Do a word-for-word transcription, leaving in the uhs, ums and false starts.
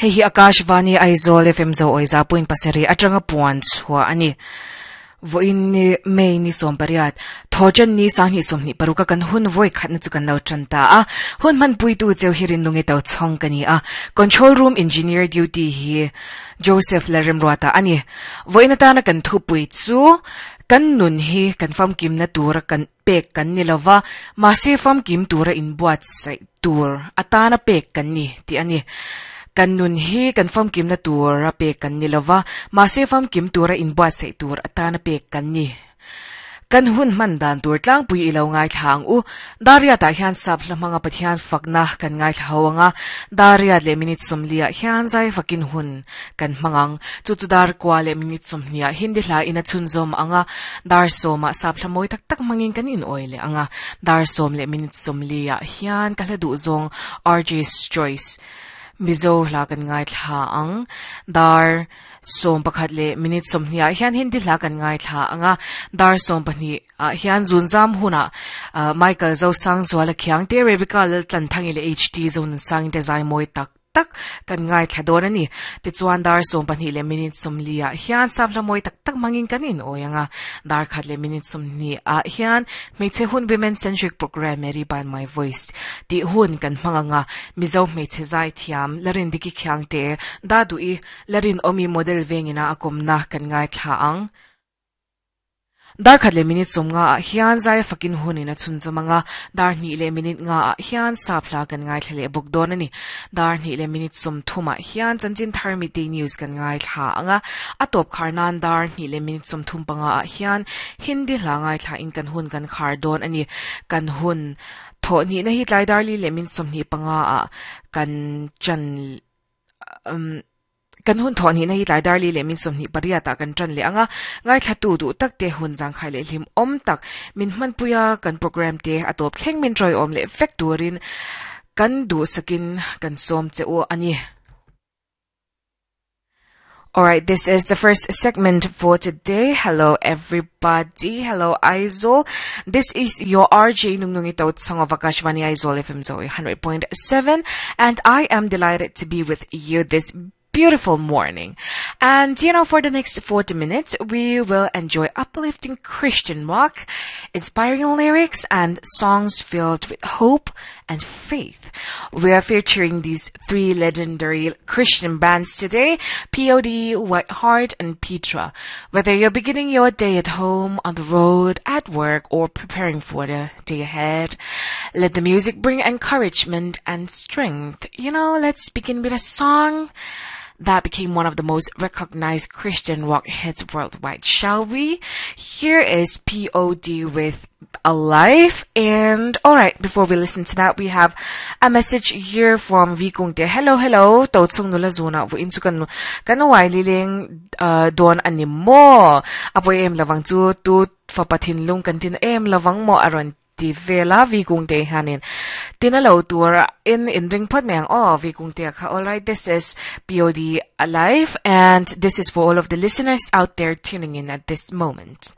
Hei hi Akashvani Aizawl F M zo oiza point pasarih atanga puan chhuah a ni. Vawiin ni May ni sawm pariat thawṭan ni sanghnih sawmhnih paruk a kan hun vawi khatna chu kan lo ṭan ta a. Hun hmanpuitu cheu hi rinlungi to chhawng ka ni a. Control room engineer duty hi Joseph Lalremruata a ni. Vawiin atana kan thupui chu kan nun hi kan famkimna tura kan pek kan ni lova, mahse famkim tura inbuatsaih tur atana pek kan ni tih a ni. Kan nun hi kan famkimna tura pek kan ni lova, mahse famkim tura inbuatsaih tur atana pek kan ni. Kan hun hman dan tur tlangpui i lo ngaithla ang u. Dariatah hian sap hla hmanga Pathian fakna kan ngaithla ho anga, Dariat leh minute sawmliah hian zai fakin hun kan hmang ang. Chu chu dar kua leh minute sawmhniah Hindi hla in a chhunzawm anga, dar sawmah sap hla mawi tak tak hmangin kan inawi leh anga, dar sawm leh minute sawmliah hian ka hla duh zawng R J's Choice Mizo hla kan ngaithla ang. Dar sawm pakhat leh minute sawmhnih ah hian Hindi hla kan ngaithla anga, dar sawm pahnih ah hian zunzam hunah Michael Zosangzuala Khiangte, Rebecca Laltlanthangi leh H T Zonunsangin te zai mawi tak tak kan ngaithla dawn a ni. Tichuan dar sawm pahnih leh minute sawmli ah hian sap hla mawi tak tak hmangin kan inawi anga, dar khat leh minute sawmhnih ah hian hmeichhe hun women centric program Mary by My Voice tih hun kan hmang anga, Mizo hmeichhe zai thiam Larindiki Khiangte da duh i Larin awmi model vengina a kawmna kan ngaithla ang. Dar khat leh minute sawm nga ah hian zai fakin hunin a chhunzawm anga, dar hnih leh minute nga ah hian sap hla kan ngaithla leh bawk dawn a ni. Dar hnih leh minute sawm thumah hian chanchin thar midday news kan ngaithla anga, a tawp khar nan dar hnih leh minute sawm thum panga ah hian Hindi hla ngaithla in kan hun kan khar dawn a ni. Kan hun thawh hnihna hi tlai dar li leh minute sawmhnih panga ah kan ṭan um kan hun thawh hnihna hi tlai dar li leh min sawmhnih pariat ah kan ṭan leh anga, ngaithla tu duh tak te hun zangkhai leh hlim awm tak min hmanpuia kan program te a tawp thleng min ṭawi awm leh vek turin kan duh sakin kan sawm che u a ni. Alright, this is the first segment for today. Hello, everybody. Hello, Aizawl. This is your R J Nungnungi Song of Akashvani Aizawl F M Zoe one hundred point seven, and I am delighted to be with you this beautiful morning. And you know, for the next forty minutes, we will enjoy uplifting Christian rock, inspiring lyrics, and songs filled with hope and faith. We are featuring these three legendary Christian bands today: P O D, White Heart, and Petra. Whether you're beginning your day at home, on the road, at work, or preparing for the day ahead, let the music bring encouragement and strength. You know, let's begin with a song that became one of the most recognized Christian rock hits worldwide, shall we? Here is P O D with Alive. And alright, before we listen to that, we have a message here from Vikungte. Hello, hello. To chung nula zuna vu in chu kan kan wai liling uh, don ani mo. Apoy em lawang chu tu fapathin lung kan tin em lawang mo aron ti vela Vikungte hanin. Tinalo tur in in ring phot meng oh Vikungte kha. Alright, this is P O D Alive, and this is for all of the listeners out there tuning in at this moment.